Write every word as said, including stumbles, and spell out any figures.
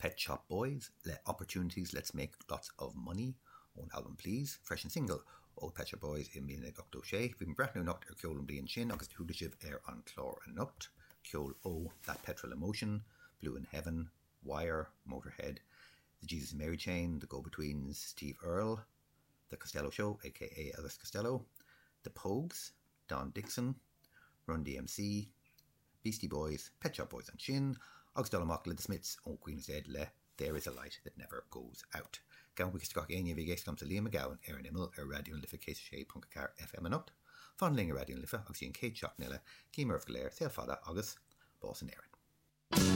Pet Shop Boys le Opportunities Let's Make Lots of Money ón albam Please, freisin single ó Pet Shop Boys i míle ochtó sé. Bhí breathnú anocht ar ceol an bliain sin agus chuala sibh ar an chlár anocht, ceol ó That Petrol Emotion, Blue in Heaven, Wire, Motorhead, The Jesus and Mary Chain, The Go-Betweens, Steve Earle, The Costello Show, aka Elvis Costello, The Pogues, Don Dixon, Run DMC, Beastie Boys, Pet Shop Boys ansin, agus dul amach le The Smiths ó Queen is Dead le There is a light that never goes out. Gabhaim buíochas gach éinne a bhí ag éisteacht liomsa Liam Mac Gabhann ar an imeall ar Raidió na Life céad sé ponc a ceathair FM anocht. Fan linn ar Raidió na Life agus an chéad seachtain eile, guím oraibh go léir, saol fada agus bás in Éirinn.